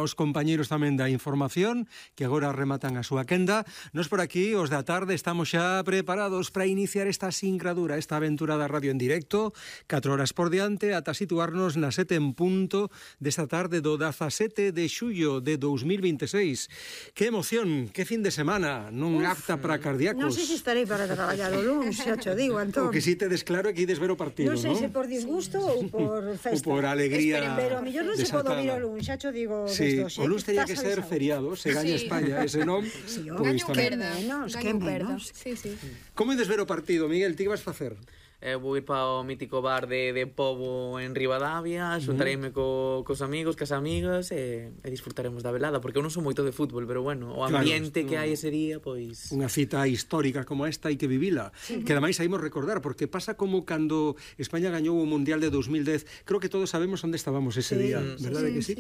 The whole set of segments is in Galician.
aos compañeiros tamén da información, que agora rematan a súa quenda. Nos por aquí, os da tarde, estamos xa preparados para iniciar esta sincradura, esta aventura da radio en directo, 4 horas por diante, ata situarnos na 7 en punto desta tarde do 17 de xullo de 2026. Que emoción, que fin de semana, non apta para cardíacos. Non sei se estarei para traballar o luns, xa cho digo, Antón. O que si tedes claro é que ides ver o partido, non? Non sei se por disgusto ou por festa. Ou por alegría. Pero a mellor non se pode ouvir o luns, xa cho digo. Sí, o luns teria que ser feriado, se gaña España, ese non. Sí, pois gaño tamén. que menos. Sí. Como ides ver o partido, Miguel? Ti que vas facer? Vou ir para o mítico bar de Pobo en Ribadavia, xuntareime cos amigos, cas amigas e disfrutaremos da velada, porque eu non sou moito de fútbol, pero bueno, o ambiente que hai ese día, pois... Unha cita histórica como esta hai que vivila, que ademais saímos recordar, porque pasa como cando España gañou o Mundial de 2010, creo que todos sabemos onde estábamos ese día, verdade que sí?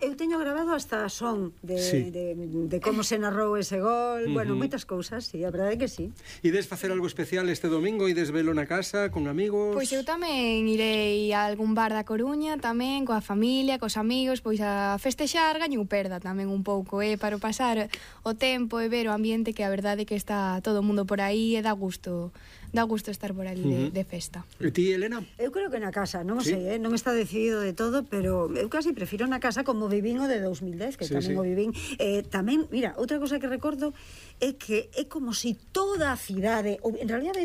Eu teño grabado hasta son de como se narrou ese gol, bueno, moitas cousas, sí, a verdade que sí. Ides facer algo especial este domingo, ides velo na casa, con amigos? Pois eu tamén irei a algún bar da Coruña, tamén coa familia, cos amigos, pois a festexar, gaño perda tamén un pouco, para pasar o tempo e ver o ambiente, que a verdade que está todo o mundo por aí e dá gusto estar por ali de festa. E ti, Elena? Eu creo que na casa, non sei, non está decidido de todo, pero eu casi prefiro na casa, como vivín o de 2010, que tamén o vivín. Tamén, mira, outra cosa que recordo é que é como si toda a cidade, ou en realidad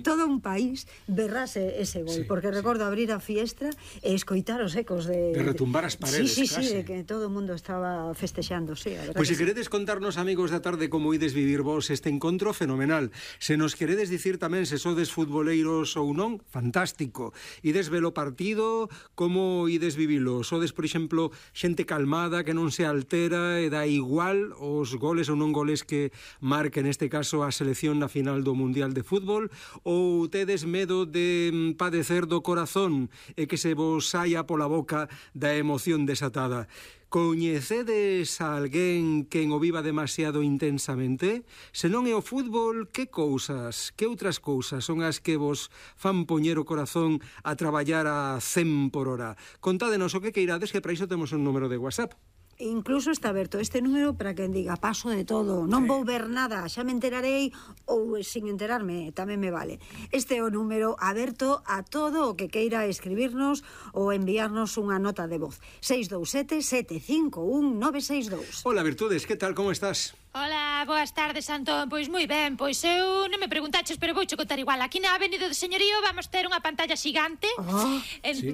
todo un país berrase ese gol, porque recordo abrir a fiestra e escoitar os ecos de retumbar as paredes, sí, de que todo o mundo estaba festexando, sí, a verdade. Pois se queredes contarnos, amigos da tarde, como ides vivir vos este encontro, fenomenal. Se nos queredes dicir tamén se sodes futboleiros ou non, fantástico. Ides ver o partido, como ides vivilo? Sodes, por exemplo, xente calmada, que non se altera e dá igual os goles ou non goles que marque neste caso a selección na final do Mundial de Fútbol, ou tedes medo de padecer do corazón e que se vos saia pola boca da emoción desatada? Coñecedes a alguén que o viva demasiado intensamente? Se non é o fútbol, que cousas, que outras cousas son as que vos fan poñer o corazón a traballar a 100 por hora? Contádenos o que queirades, que para iso temos un número de WhatsApp. Incluso está aberto este número para quen diga paso de todo, non vou ver nada, xa me enterarei, ou sin enterarme, tamén me vale. Este é o número aberto a todo o que queira escribirnos ou enviarnos unha nota de voz. 627-751-962. Hola, Virtudes, que tal, como estás? Hola, boas tardes, Antón. Pois moi ben, pois eu non me preguntaches, pero vouche contar igual. Aquí na Avenida do Señorío vamos ter unha pantalla xigante.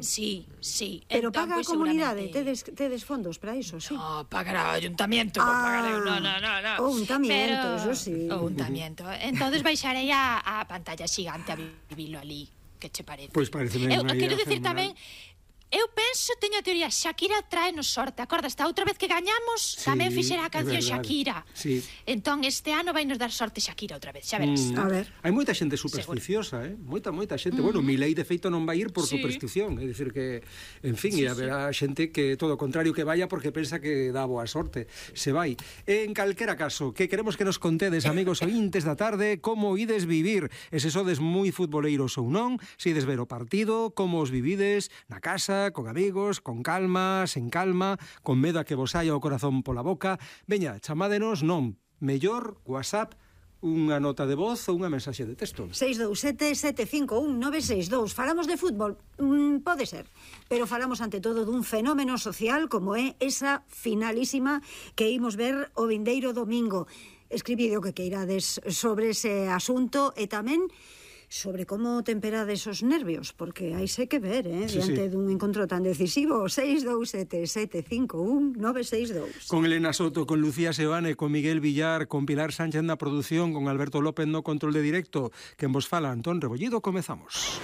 Sí. Pero entón, paga a pois, comunidade, seguramente... tedes fondos para iso, sí? No, pagará o ayuntamiento, pagarei, no. O untamiento, eso sí. O untamiento. Entonces baixarei a pantalla xigante a vivilo ali. Que che parece? Pois pareceme unha idea quero dicir fenomenal. tamén, eu penso, teño a teoría, Shakira traenos sorte, acordas? A outra vez que gañamos, tamén fixera a canción Shakira. Sí. Entón, este ano vai nos dar sorte Shakira outra vez, xa verás. A ver. Hai moita xente supersticiosa, moita xente. Bueno, Milei de feito non vai ir por superstición, é dicir que, en fin, e haberá xente que todo o contrario que vaya porque pensa que dá boa sorte, se vai. En calquera caso, que queremos que nos contedes, amigos ointes da tarde, como ides vivir, e se sodes moi futboleiros ou non, se ides ver o partido, como os vivides na casa, con amigos, con calma, sen calma, con medo a que vos saia o corazón pola boca. Veña, chamádenos, non, mellor WhatsApp, unha nota de voz ou unha mensaxe de texto. 627-751-962. Falamos de fútbol, pode ser, pero falamos ante todo dun fenómeno social como é esa finalísima que imos ver o vindeiro domingo. Escribide o que queirades sobre ese asunto e tamén sobre como temperades os nervios, porque hai se que ver, diante dun encontro tan decisivo. 627-751-962. Con Elena Soto, con Lucía Seoane, con Miguel Villar, con Pilar Sánchez na produción, con Alberto López no control de directo, que en vos fala Antón Rebollido, comezamos.